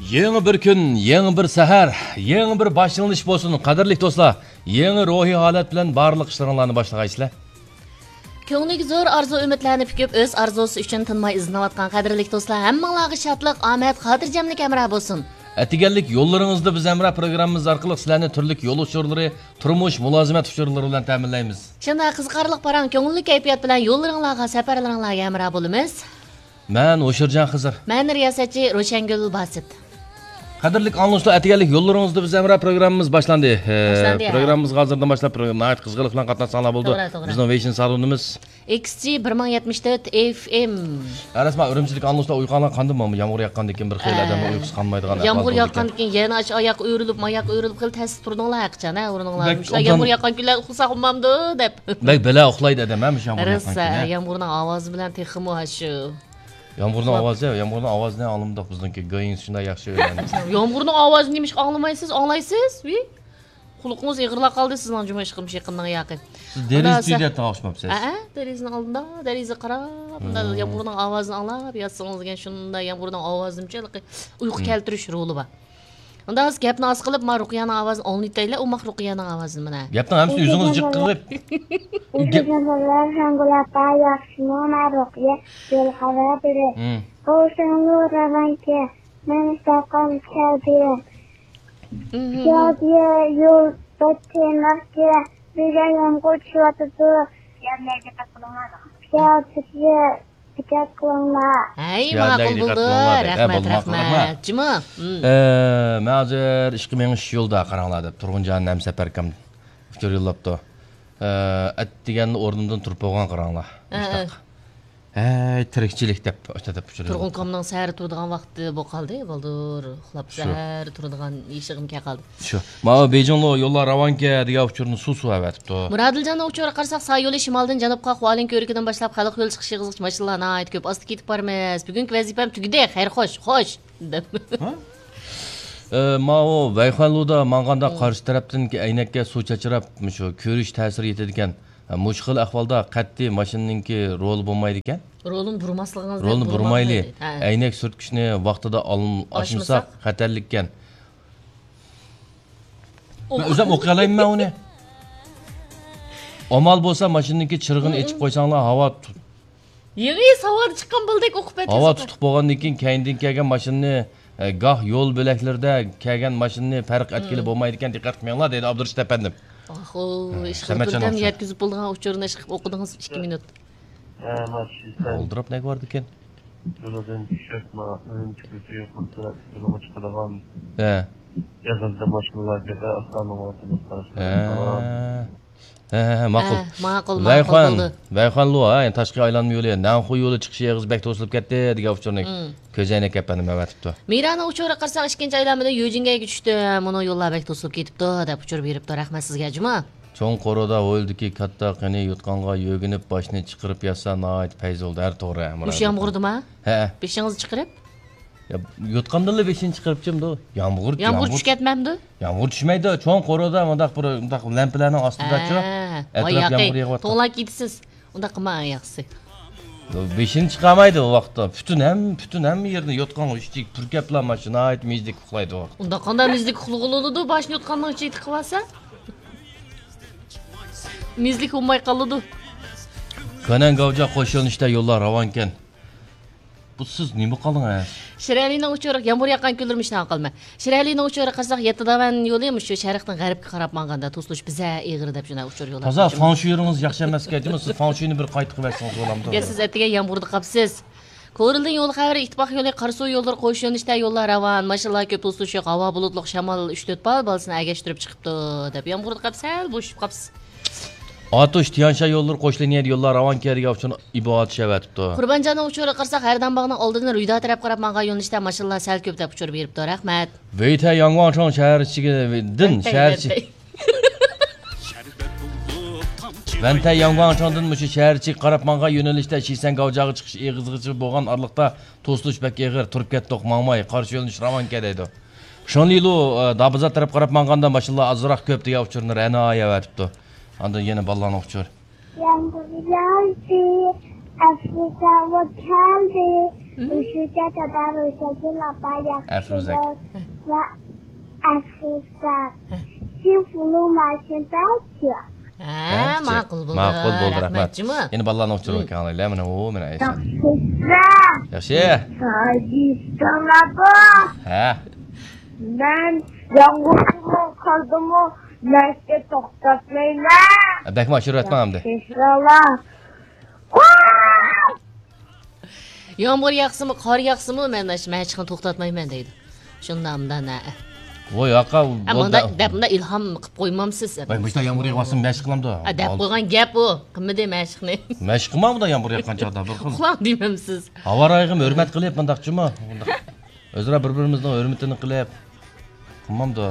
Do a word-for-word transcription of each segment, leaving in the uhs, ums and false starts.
يېڭى بىر كۈن، يېڭى بىر سەھەر، يېڭى بىر باشلىنىش بولسۇن، قەدىرلىك دوستلار. يېڭى روھىي ھالەت بىلەن بارلىق ئىشلىرىڭلارنى باشلىغايسىلەر. كۆڭلىگە زور ئارزۇ-ئۈمىدلەرنى پۈكۈپ، ئۆز ئارزۇسى ئۈچۈن تىنماي ئىزدىنىۋاتقان قەدىرلىك دوستلار، ھەممىڭلارغا شادلىق، ئامەت، خاتىرجەملىك ھەمراھ بولسۇن. ئەتىگەنلىك يوللىرىڭىزدا بىز ھەمراھ پروگراممىمىز ئارقىلىق سىلەرنى تۈرلۈك يول ئۇچۇرلىرى، تۇرمۇش، مۇلازىمەت ئۇچۇرلىرى بىلەن تەمىنلەيمىز. شۇنداق قىزىقارلىق، پاراڭ، كۆڭۈللۈك كەيپىيات بىلەن يوللىرىڭلارغا، سەپەرلىرىڭلارغا ھەمراھ بولىمىز. مەن ھوشۇرجان خىزىر. مەن رىياسەتچى روشەنگۈل باسىت. قەدىرلىك ئاڭلىغۇچىلار، ئەتىگەنلىك يوللىرىڭىزدا بىز ھەمراھ پروگراممىمىز باشلاندى. ئە، باشلاندى، ھە. پروگراممىمىزغا ھازىردىن باشلاپ، پروگراممىنى ناھايىتى قىزغىنلىق بىلەن قاتناشساڭلار بولىدۇ. توغرا، توغرا. بىزنىڭ ۋېيشىن سالونىمىز. ئېكس جى بىر مىڭ يەتمىش تۆت ئېف ئېم. ھە، راست، مانا ئۈرۈمچىدىكى ئاڭلىغۇچىلار ئۇيقۇغانلار قاندىن بولدى؟ يامغۇر ياققاندىن كېيىن بىر خېلى ئە، ئادەمنىڭ ئۇيقۇسى قانمايدىغان ئەھۋال يامغۇر بولىدىكەن. ياققاندىن كېيىن يەنە ئاشۇ ئاياققا ئۆرۈلۈپ، ماياققا ئۆرۈلۈپ خېلى تەستە تۇردۇڭلار ھەقىچان، ھە، ئورنۇڭلار. بەك مۇشۇنداق ئوبدان يامغۇر ياققان كۈنلەردە ئۇخلىساق بولمامدۇ دەپ. بەك بەلا ئۇخلايدۇ ئادەم، ھە، مۇشۇ يامغۇر ياققان كۈنى. يامغۇرنىڭ ئاۋازى بىلەن تېخىمۇ ئاشۇ. يامغۇرنىڭ ئاۋازى، يامغۇرنىڭ ئاۋازىنى ئاڭلىمىدۇق بىزنىڭكى گايىنىڭ شۇنداق ياخشى ئۆيلەندى. يامغۇرنىڭ ئاۋازىنى نېمىشقا ئاڭلىمايسىز؟ ئاڭلايسىز؟ ۋى؟ قۇلىقىڭىز ئېغىرلاپ قالدى سىزنىڭ جۇمۇ ئىشقىلىپ يېقىننىڭ ياقى. سىز دېرىزە تۈۋىدە ياتقان ئوخشىماپسىز. ھەئە، دېرىزىنىڭ ئالدىدا، دېرىزە قاراپ، مۇنداق يامغۇرنىڭ ئاۋازىنى ئاڭلاپ ياتسىڭىز دېگەن شۇنداق يامغۇرنىڭ ئاۋازىنىمۇ ئۇيقۇ كەلتۈرۈش رولى بار. ئۇنداق بولسا گەپنى ئاز قىلىپ، ما رۇقىيەنىڭ ئاۋازىنى ئاڭلىتايلى، ئۇ ماق رۇقىيەنىڭ ئاۋازىنى مانا. گەپنىڭ ھەممىسىنى ئۆزىڭىز جىق قىلىپ. ئۆزۈڭلار ھەم بۇلاردا ياخشىمۇ، ما رۇقىيە يول خەۋەر بېرىپ. ھىم. بولسىڭلار راۋانكە، مەن ساقال كەلدى. كەلدى يول بەتتىمەككە، بىزگە يامغۇر چۈشۈۋاتىدۇ. كەلدى دىققەت قىلىڭلار. ھەي، ماقۇل بولدى. رەھمەت، رەھمەت. جۇمۇ. ئە، مەن ھازىر ئىشقا مېڭىش يولدا قاراڭلار دەپ تۇرغۇنجان ھەمسەپەركەم ئۇچۇر يوللاپتۇ. ئە، ئەتىگەندە ئورنۇمدىن تۇرۇپ بولغان قاراڭلار. مۇشتاق. ھەي، تىرىكچىلىك دەپ، ئاشۇنداق دەپ ئۇچۇر يوللاپتۇ. تۇرغۇنكامنىڭ سەھەر تۇرىدىغان ۋاقتى بولۇپ قالدى، بالدۇر ئۇخلاپ سەھەر تۇرىدىغان ئىشىغىمۇ كەپ قالدى. شۇ. ماۋۇ بېيجىڭلۇ يوللار راۋانكەن دېگەن ئۇچۇرنى سۇ سۇ ئەۋەتىپتۇ. مۇرادىلجاننىڭ ئۇچۇرىغا قارىساق، ساي يولى شىمالدىن جەنۇبقا خۇالىن كۆۋرۈكىدىن باشلاپ خەلق يولى چىقىش يېغىزىغىچە ماشىنىلار ناھايىتى كۆپ، ئاستا كېتىپ بارىمىز. بۈگۈنكى ۋەزىپەم تۈگىدى، خەير خوش، خوش، دەپ. ھە؟ ئە، ماۋۇ ۋەيخۇەنلۇدا ماڭغاندا قارشى تەرەپتىنكى ئەينەككە سۇ چاچراپ، مۇشۇ كۆرۈش تەسىرى يېتىدىكەن. ھە، مۇشۇ خىل ئەھۋالدا قەتئىي ماشىنىنىڭكى رولى بولمايدىكەن. رولىنى بۇرماسلىقىڭىز، رولىنى بۇرمايلى. ھە. ئەينەك سۈرتكۈچنى ۋاقتىدا ئال-، ئاچمىساق خەتەرلىككەن. مەن ئۆزۈم ئوقۇيالايمەن ئۇنى. ئامال بولسا ماشىنىنىڭكى چىرىغىنى ئېچىپ قويساڭلار، ھاۋا تۇ-، يېڭى ساۋادا چىققان بالىدەك ئوقۇپ ئۆتىسىز. ھاۋا تۇتۇق بولغاندىن كېيىن كەينىدىن كەلگەن ماشىنىنى، ئە، گاھ يول بۆلەكلىرىدە كەلگەن ماشىنىنى پەرق ئەتكىلى بولمايدىكەن، دىققەت قىلماڭلار، دەيدۇ ئابدۇرېشىت ئەپەندىم. ئاخۇ، ھە، ئىشقىلىپ بىردەم يەتكۈزۈپ بولىدىغان ئۇچۇرنى ئىشقىلىپ ئوقۇدىڭىز ئىككى مىنۇت. ھە، ماشىنىسەن. ئولتۇرۇپ نەگە باردىكەن؟ يولىدىن چۈشۈپ، ما، ئۈرۈمچى كۆچە يوقىرىسى يولىغا چىقىدىغان. ھە. ئېغىزدا ماشىنىلار كېتە، ئاستانىڭ ئورتىدا قاراشلار. ھە. ھە، ھە، ھە، ماقۇل. ھە، ماقۇل، ماقۇل ۋەيخۇەن، بولدى. ۋەيخۇەنلۇ، ھە، تاشقى ئايلانما يولى، نەنخۇ يولى چىقىش ئېغىزى بەك توسۇلۇپ كەتتى، دېگەن ئۇچۇرنى كۆزەينەك ئەپەندىم ئەۋەتىپتۇ. مىرانىڭ ئۇچۇرىغا قارىساق، ئىككىنچى ئايلانمىدا يۈجىنگەيگە چۈشتى، مۇنۇ يوللار بەك توسۇلۇپ كېتىپتۇ، دەپ ئۇچۇر بېرىپتۇ. رەھمەت سىزگە، جۇما. چوڭ قورۇدا ھويلىدىكى كاتتا قېنى يوتقانغا يۆگىنىپ باشنى چىقىرىپ ياتسا ناھايىتى پەيز بولىدۇ ھەر توغرا. مۇشۇ يامغۇردىما؟ ھە. بېشىڭىزنى چىقىرىپ؟ يا، يوتقاندىنلا بېشىنى چىقىرىپ چىمدۇ. يامغۇر، يامغۇر چۈشۈپ كەتمەمدۇ؟ يامغۇر چۈشمەيدۇ. چوڭ قورۇدا مۇنداق بىر، مۇنداق لەمپىلەرنىڭ ئاستىداچۇ. ھە. ئەتراپ يامغۇر يېغىۋاتقان. توڭلاپ كېتىسىز. ئۇنداق قىلماڭ ياخشىسى. بېشىنى چىقارمايدۇ ئۇ ۋاقىتتا. پۈتۈن ھەم-، پۈتۈن ھەممە يېرىنى يوتقانغا ئۈچتىكى پۈركەپلا ماشىنا ناھايىتى مېزدەك ئۇخلايدۇ ئۇ ۋاقىتتا. ئۇنداق قانداق مېزدەك ئۇخلىغىلى بولىدۇ؟ باشنى يوتقاننىڭ ئىچىگە تىقىۋالسا. مېزلىك بولماي قالىدۇ. كۆنەن گاۋجا قوش يۆنىلىشتە يوللار راۋانكەن. بۇ سىز نېمە قىلدىڭىز؟ شىرئەلىنىڭ ئۇچۇرى، يامغۇر ياغقان كۈنلىرى مۇشۇنداق قىلىمەن. شىرئەلىنىڭ ئۇچۇرى قارىساق، يەتتە داۋەن يولى مۇشۇ شەرقتىن غەربكە قاراپ ماڭغاندا توسۇلۇش بىزە ئېغىر دەپ شۇنداق ئۇچۇر يوللاپ. تازا فاڭشۇيىڭىز ياخشى ئەمەسكەن، جۇمۇ سىز فاڭشۇينى بىر قايتا قىلىۋەتسىڭىز بولامدۇ؟ يا سىز ئەتىگەن يامغۇردا قاپسىز. كورلىدىن يول خەۋىرى، ئىتتىپاق يولى، قاراسۇ يوللىرى قوش يۆنىلىشتە يوللار راۋان، ماشىنىلار كۆپ توسۇلۇش يوق، ھاۋا بۇلۇتلۇق، شامال ئۈچ تۆت بال بالىسىنى ئەگەشتۈرۈپ چىقىپتۇ، دەپ يامغۇردا قاپ سەل بوشىشىپ قاپسىز. ئاتۇش، تيەنشان يوللىرى قوش لىنىيەدە يوللار راۋانكەن دېگەن ئۇچۇرنى ئىبو ئاتۇش ئەۋەتىپتۇ. قۇربانجاننىڭ ئۇچۇرىغا قارىساق، ھەردان باغنىڭ ئالدىدىن رۇيدا تەرەپ قاراپ ماڭغان يۆنىلىشتە ماشىنىلار سەل كۆپ دەپ ئۇچۇر بېرىپتۇ. رەھمەت. ۋېيتەي ياڭگۇاڭچاڭ شەھەر ئىچىدىن شەھەر ئىچى. ۋەنتەي ياڭگۇاڭچاڭدىن مۇشۇ شەھەر ئىچىگە قاراپ ماڭغان يۆنىلىشتە شىسەن گاۋجاغا چىقىش ئېغىزىغىچە بولغان ئارىلىقتا توسۇلۇش بەك ئېغىر، تۇرۇپ كەتتۇق، ماڭماي، قارشى يۆنىلىش راۋانكەن دەيدۇ. شېڭلىلۇ، ئە، دابىزات تەرەپ قاراپ ماڭغاندا ماشىنىلار ئازراق كۆپ دېگەن ئۇچۇرنى رەنا ئەۋەتىپتۇ. ئاندىن يەنە بالىلارنىڭ ئۇچۇرى. يامغۇر ياغدى، ئەسلى ھاۋا كەلدى. 我是家长大陆小金老板呀。 ئەفۇزەك. ۋە ئەفۇزەك. 幸福路马现在起. ھە، ماقۇل بولدى. ماقۇل بولدى، رەھمەت. رەھمەت جۇمۇ. يەنە بالىلارنىڭ ئۇچۇرىغا كەڭلەيلى، مانا ئۇ، مانا ئەيشە. ياخشى. ياخشى. ساجىستانلار. ھە. مەن ياڭغۇردىمۇ، قاردىمۇ، مەشىقنى توختاتمايمەن. بەكمۇ ئاشۇرۇۋەتمەڭ ئەمدى. ياخشى. يامغۇر ياغسىمۇ، قار ياغسىمۇ، مەن مەشىقنى توختاتمايمەن دەيدۇ. شۇنداق، مۇنداق، نە. ۋاي، ياقا، ئە، بولدى. مۇنداق دەپ، مۇنداق ئىلھام قىلىپ قويمامسىز، ئە، مۇشۇنداق يامغۇر ياغسىمۇ مەشىق قىلامدۇ؟ ئە، دەپ قويغان گەپ ئۇ. قىلمىدى مەشىقنى. مەشىق قىلمامدۇ يامغۇر ياغقان چاغدا بىر خىل؟ ئۇخلاڭ دېمەمسىز. ھاۋا رايىغىمۇ ھۆرمەت قىلىپ مۇنداقچىمۇ؟ مۇنداق. ئۆزئارا بىر-بىرىمىزنىڭ ھۆرمىتىنى قىلىپ. قىلمامدۇ؟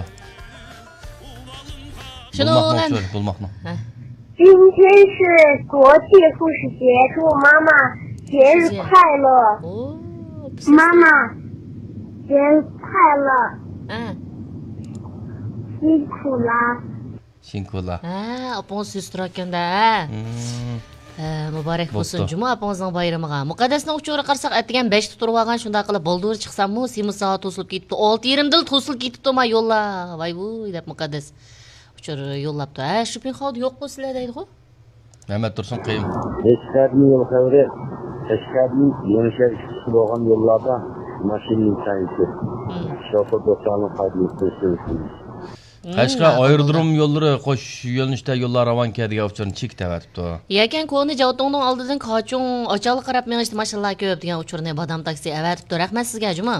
شۇنىڭ بولماقنىڭ بىلەن ئۇچۇرى، بولماقنىڭ. ھە. 今天是国际护士节，祝妈妈节日快乐。节日快乐。妈妈节日快乐。ھە. 辛苦了。 شىنكۇلا. ھە، ئاپىڭىز سۆز تۇراركەن-دە، ھە؟ ھە، مۇبارەك بولسۇن جۇمۇ ئاپىڭىزنىڭ بايرىمىغا. مۇقەددەسنىڭ ئۇچۇرىغا قارىساق، ئەتىگەن بەشتە تۇرۇۋالغان، شۇنداق قىلىپ بالدۇر چىقساممۇ، سېمىز سائەت توسۇلۇپ كېتىپتۇ. ئالتە يېرىمدىلا توسۇلۇپ كېتىپتۇ، ما يوللار. ۋاي ۋۇي دەپ مۇقەددەس ئۇچۇر يوللاپتۇ. ھە، شوپىنخاۋدا يوققۇ سىلەر دەيدىغۇ. مەمەت تۇرسۇن قېيۇم. قەشقەردىن يول خەۋىرى. قەشقەردىن يېڭىشەھەر ئىككى بولغان يوللاردا ماشىنا ئىمكانىيىتى. شوپۇر دوستلارنىڭ قايتىپ قېلىشى. قەشقەر ئايرودروم يوللىرى قوش يۆنىلىشتە يوللار راۋانكەن دېگەن ئۇچۇرنى چېكىت ئەۋەتىپتۇ. يەكەن كونا جاۋتۇڭنىڭ ئالدىدىن كاچۇڭ ئاچالغا قاراپ مېڭىشتا ماشىنىلار كۆپ دېگەن ئۇچۇرنى بادام تاكسى ئەۋەتىپتۇ. رەھمەت سىزگە، جۇمۇ.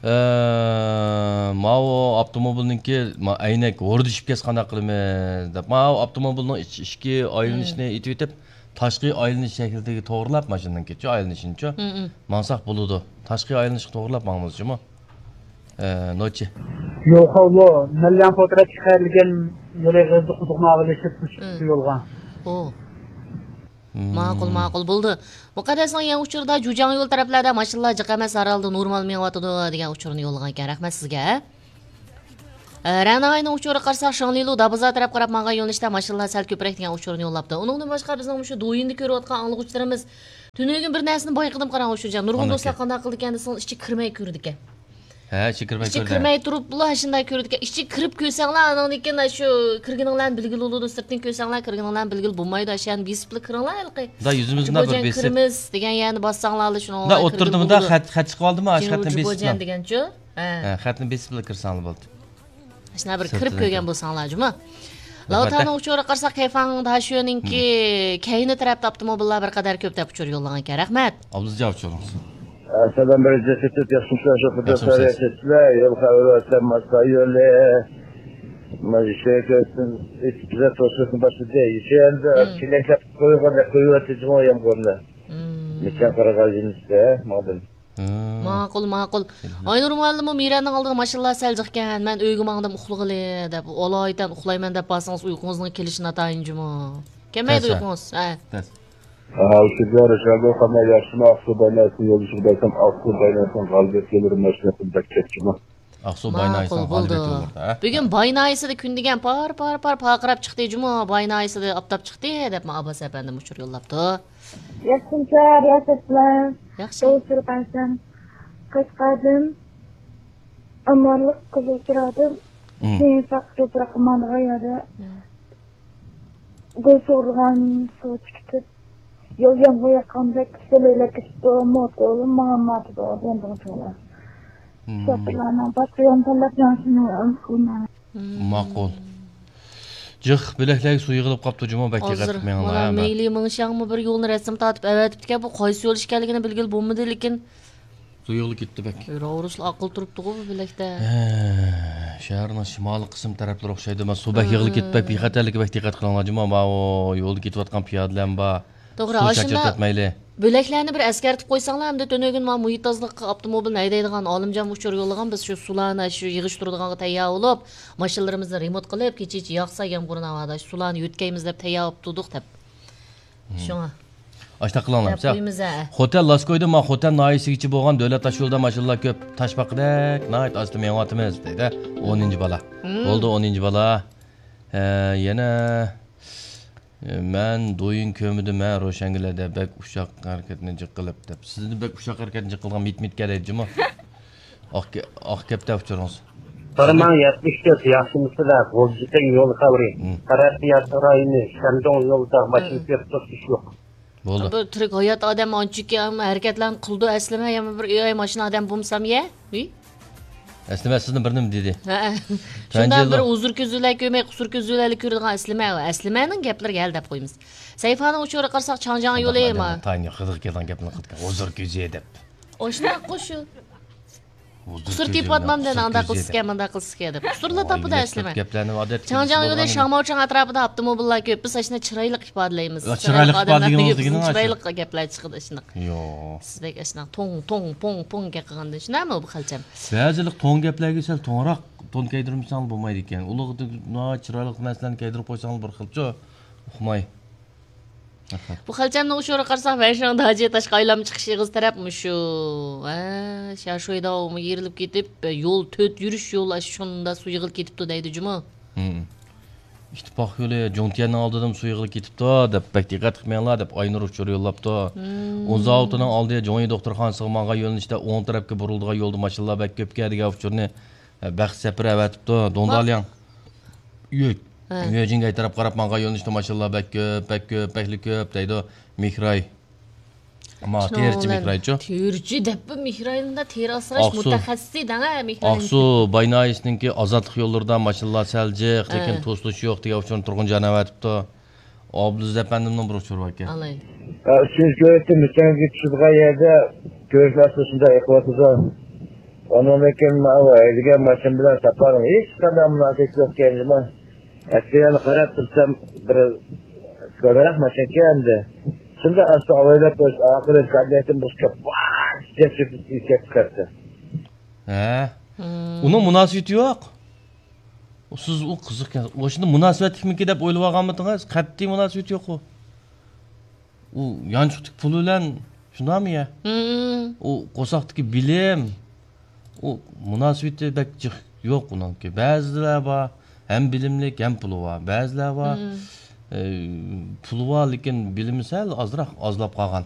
ئە، ماۋۇ ئاپتوموبىلنىڭكى ما-، ئەينەك ھوردىشىپ كەتسە قانداق قىلىمىز دەپ، ماۋۇ ئاپتوموبىلنىڭ ئىچ-، ئىچكى ئايلىنىشىنى ئېتىۋېتىپ، تاشقى ئايلىنىش شەكلىدىكى توغرىلاپ ماشىنىنىڭكىچۇ، ئايلىنىشىنىچۇ، ماڭساق بولىدۇ. تاشقى ئايلىنىشقا توغرىلاپ ماڭىمىز جۇمۇ. ئە، نوچى. يوقاۋلۇ، مەليان پوترەت چىقىرىلگەن يولى غىزدى قۇدۇقنى ئاغىلىشىپ چىقتى يولغا. ئۇ. ماقۇل، ماقۇل، بولدى. مۇقەددەسنىڭ يېڭى ئۇچۇرىدا جۇجياڭ يول تەرەپلەردە ماشىنىلار جىق ئەمەس، ھەر ھالدا نورمال مېڭىۋاتىدۇ دېگەن ئۇچۇرنى يوللىغانىكەن. رەھمەت سىزگە. ئە، رەناينىڭ ئۇچۇرىغا قارىساق، شاڭلىلۇ دابىزا تەرەپ قاراپ ماڭغان يۆنىلىشتە ماشىنىلار سەل كۆپرەك دېگەن ئۇچۇرنى يوللاپتۇ. ئۇنىڭدىن باشقا، بىزنىڭ مۇشۇ دويىندا كۆرۈۋاتقان ئاڭلىغۇچىلىرىمىز تۈنۈگۈن بىر نەرسىنى بايقىدىم، قاراڭ، ئۇچۇرجان. نۇرغۇن دوستلار قانداق قىلىدىكەن دېسىڭىز، ئىچىگە كىرمەي كۆرىدىكەن. ھە، ئىچىگە كىرمەي كۆردى. ئىچىگە كىرمەي تۇرۇپلا شۇنداق كۆرىدىكەن. ئىچىگە كىرىپ كۆرسەڭلار، ئانىڭدىن كېيىن شۇ كىرگىنىڭلارنى بىلگىلى بولىدۇ. سىرتتىن كۆرسەڭلار، كىرگىنىڭلارنى بىلگىلى بولمايدۇ. ئاشۇ يەرنى بېسىپلا كىرىڭلار ھېلىقى. مۇنداق يۈزىمىزنى بىر بېسىپ. كىرىمىز دېگەن يەرنى باسساڭلارلا شۇنىڭ بىلەن كىرگىلى بولىدۇ. ئوتتۇرىدا مۇنداق خەت، خەت چىقىۋالدىمۇ، ئاشۇ خەتنى بېسىپلا. دېگەنچۇ؟ ھە. ھە، خەتنى بېسىپلا كىرسەڭلار بولدى. شۇنداق بىر كىرىپ كۆرگەن بولساڭلار جۇمۇ. لاۋتانىڭ ئۇچۇرىغا قارىساق، كەيفاڭ داشۆنىڭكى كەينى تەرەپتە ئاپتوموبىللار بىر قەدەر كۆپ دەپ ئۇچۇر يوللىغانىكەن. رەھمەت. ئابلىزجا ئۇچۇرىڭىز. ئەسەدان بىر جەسىتىپ ياخشىمۇسىلەر شۇ قىدىر سەۋىيەسىدىلەر يول خەۋىرى ئۆتەم ماستا يولى. ماجىشەي كۆرسۇن. بىزە توسۇشنى باشلىدى. يېشەندە چېلەكلەپ قويغان قويۇۋەتتى جۇمۇ يامغۇرنى. نېچە قارىغان يېنىشتە ماڭدىم. ماقۇل، ماقۇل. ئاينۇر مۇئەللىم، مىرەننىڭ ئالدىدا ماشىنىلار سەل جىقكەن، مەن ئۆيگە ماڭدىم ئۇخلىغىلى دەپ، ئالايىتەن ئۇخلايمەن دەپ بارسىڭىز ئۇيقۇڭىزنىڭ كېلىشى ناتايىن جۇمۇ. كەلمەيدۇ ئۇيقۇڭىز. ھە. ھە، ئۇشۇ جاي رىشاردو قانداق ياخشىمۇ؟ ئاقسۇ بايناسىنى يولدىشىغا بەرسەم، ئاقسۇ بايناسىنىڭ غالىبىيەت يوللىرى ماشىنا بەك كەتتىمۇ؟ ئاقسۇ بايناسىنىڭ غالىبىيەت يوللىرىدا، ھە؟ بۈگۈن بايناسىدا كۈن دېگەن پار، پار، پار پارقىراپ چىقتى جۇمۇ. بايناسىدا ئاپتاپ چىقتى دەپمۇ ئابباس ئەپەندىم ئۇچۇر يوللاپتۇ. ياخشىمۇ، رىياسەت بىلەن. ياخشى. ئۇچۇر قايسام، قەشقەردىن، ئامانلىق، قىزىل چىرادىن، كېيىن ساق توپراققا ماڭىدىغان يەردە گۈل سۇغۇرغان سۇ چىقىپ، يول يامغۇر ياغقاندەك سېلىۋېلىپ كېتىپتۇ، موتور ماڭالمايۋاتىدۇ، دېدىم شۇڭا. شوپۇرلارنىڭ باشقا يولنى تاللاپ مېڭىشىنى ئۈمىد قىلىمەن. ماقۇل. جىق بۆلەكلەرگە سۇ يىغىلىپ قاپتۇ جۇمۇ، بەك دىققەت قىلىپ مېڭىڭلار، ھە. مەيلى مېڭىشاڭمۇ بىر يولنى رەسىم تارتىپ ئەۋەتىپتىكەن، بۇ قايسى يول ئىكەنلىكىنى بىلگىلى بولمىدى، لېكىن سۇ يىغىلىپ كېتىپتۇ بەك. راۋرۇسلا ئاقىل تۇرۇپتىغۇ بۇ بۆلەكتە. ھە، شەھەرنىڭ شىمالىي قىسىم تەرەپلىرى ئوخشايدۇ، مانا سۇ بەك يىغىلىپ كېتىپ بەك بىخەتەرلىككە بەك دىققەت قىلىڭلار جۇمۇ، ماۋۇ يولدا كېتىۋاتقان پىيادىلەرمۇ بار. توغرا، سۇ ئاشۇنداق چاچرىتىۋەتمەيلى. بۆلەكلەرنى بىر ئەسكەرتىپ قويساڭلار، ئەمدى تۈنۈگۈن مانا مۇھىت تازىلىققا ئاپتوموبىلنى ھەيدەيدىغان ئالىمجان ئۇچۇر يوللىغان، بىز شۇ سۇلارنى شۇ يىغىشتۇرىدىغانغا تەييار بولۇپ، ماشىنىلىرىمىزنى رېمونت قىلىپ، كېچىچە ياغسا يامغۇر ناۋادا شۇ سۇلارنى يۆتكەيمىز دەپ تەييار بولۇپ تۇردۇق دەپ. شۇڭا. ئاشۇنداق قىلىڭلار. دەپ قويىمىز، ھە. خوتەن لاسكويدا ما خوتەن ناھىيەسىگىچە بولغان دۆلەت تاشيولىدا ماشىنىلار كۆپ، تاشپاقىدەك ناھايىتى ئاستا مېڭىۋاتىمىز دەيدۇ. ئونىنچى بالا. بولدى، ئونىنچى بالا. ھە، يەنە مەن دويىن كۆرمىدىم ھە روشەنگۈلەردە بەك ئۇششاق ھەرىكەتنى جىق قىلىپ دەپ. سىزنى بەك ئۇششاق ھەرىكەتنى جىق قىلغان مىت مىتكە دەيدىجىمۇ؟ ئاق، ئاق گەپتە ئۇچۇرىڭىز. قارىماڭ، يەتمىش تۆت ياخشىمۇسىلەر، غۇلجىتەڭ يول خەۋىرى. تەرەققىيات رايونى، شەندۇڭ يولىدا ماشىنا كۆپ توسۇش يوق. بولدى. بۇ تۈرك ھايات ئادەم ئانچىكى ھەرىكەتلەرنى قىلىدۇ ئەسلىمە، يا بىر ئۆي ماشىنا ئادەم بولمىسام يە؟ ئۆي؟ ئەسلىمە سىزنى بىر نېمە دېدى؟ ھە. شۇنداق بىر ھۇزۇر كۆزى بىلەن كۆرمەي، قۇسۇر كۆزى بىلەن كۆرىدىغان ئەسلىمە. ئەسلىمەنىڭ گەپلىرىگە ھەل دەپ قويىمىز. سەيفانىڭ ئۇچۇرىغا قارىساق، چاڭجياڭ يولى ما. تاينى خىدىغا كەلگەن گەپنى قىلىدىكەن. ھۇزۇر كۆزى دەپ. ئوشۇنداققۇ شۇ. قۇسۇر تېپىۋاتمامدىن، ئانداق قىلسىكەن، مۇنداق قىلسىكەن دەپ. قۇسۇرلا تاپىدۇ ئەسلىمە. چاڭجياڭ يولى شاڭماۋچاڭ ئەتراپىدا ئاپتوموبىللار كۆپ. بىز ئاشۇنداق چىرايلىق ئىپادىلەيمىز. چىرايلىق ئادەملەر دېگىنىڭىز، چىرايلىق گەپلەر چىقىدۇ ئاشۇنداق. يوق. سىز بەك ئاشۇنداق توڭ، توڭ، پوڭ، پوڭ گەپ قىلغاندىن شۇنداقمۇ بۇ خەلچەم؟ بەزىلىك توڭ گەپلەرگە سەل توڭراق تون كىيدۈرمىسەڭلار بولمايدىكەن. ئۇلارغا ناھايىتى چىرايلىق نەرسىلەرنى كىيدۈرۈپ قويساڭلار بىر خىلچۇ. ئۇقماي. بۇ خەلچەمنىڭ ئۇچۇرىغا قارىساق، ۋەنشاڭدا ئاجىيتاشقا ئايلانما چىقىش ئېغىز تەرەپ مۇشۇ. ھە، شياشۇيداۋمۇ يېرىلىپ كېتىپ، يول تۆت يۈرۈش يول ئاشۇ شۇندا سۇ يىغىلىپ كېتىپتۇ دەيدۇ جۇمۇ. ھىم. ئىتتىپاق يولى جۇڭتيەننىڭ ئالدىدىمۇ سۇ يىغىلىپ كېتىپتۇ دەپ بەك دىققەت قىلماڭلار دەپ ئاينۇر ئۇچۇر يوللاپتۇ. ئۇن زاۋۇتىنىڭ ئالدى جۇڭيى دوختۇرخانىسىغا ماڭغان يۆنىلىشتە ئوڭ تەرەپكە بۇرۇلىدىغان يولدا ماشىنىلار بەك كۆپكەن دېگەن ئۇچۇرنى، ھە، بەخت سەپىرى ئەۋەتىپتۇ. دۇڭدالياڭ. يۆ-، ھە. يۆجىنگەي تەرەپ قاراپ ماڭغان يۆنىلىشتە ماشىنىلار بەك كۆپ، بەك كۆپ، بەكلا كۆپ دەيدۇ. مېھراي. ما، تېرىچى مېھرايچۇ؟ تېرىچى دەپپۇ مېھراينىڭدا تېرە ئاسراش مۇتەخەسسىسى دەڭە مېھراي. ئاقسۇ باي ناھىيەسىنىڭكى ئازادلىق يوللىرىدا ماشىنىلار سەل جىق، لېكىن توسۇلۇش يوق دېگەن ئۇچۇرنى تۇرغۇن جان ئەۋەتىپتۇ. ئابدۇزەز ئەپەندىمنىڭ بىر ئۇچۇرى باركەن. ئالايلى. ئۈچىنچى كۆۋرۈكتىن مىتەنگە چۈشىدىغان يەردە كۆۋرۈكلەر شۇنداق ئېقىۋاتىدۇ. ئۇنىڭدىن كېيىن ماۋۇ ھەيدىگەن ماشىنا بىلەن ساپارنىڭ ھېچقانداق مۇناسىۋىتى يوق ئىكەن جۇمۇ. ئەسلى يەنە قاراپ تۇرسام، بىر كۆرەرەك ماشىنىكەن ئەمدى. شۇنداق ئاستا ئاۋايلاپ قويۇپ، ئاخىرى كادىلەكتىن بىر چوپ، ۋاھ دەپ چۆكۈپ كەتتى. ھە. ئۇنىڭ مۇناسىۋىتى يوق. سىز ئۇ قىزىقكەن. ئۇ شۇنداق مۇناسىۋەتلىكمىكى دەپ ئويلىۋالغانمىدىڭىز؟ قەتئىي مۇناسىۋىتى يوق ئۇ. ئۇ يانچۇقتىكى پۇل بىلەن شۇنداقمۇ يە؟ ئۇ قورساقتىكى بىلىم، ئۇ مۇناسىۋىتى بەك جىق يوق ئۇنىڭكى. بەزىلەر بار، ھەم بىلىملىك، ھەم پۇلى بار. بەزىلەر بار، ئە، پۇلى بار، لېكىن بىلىمى سەل ئازراق، ئازلاپ قالغان.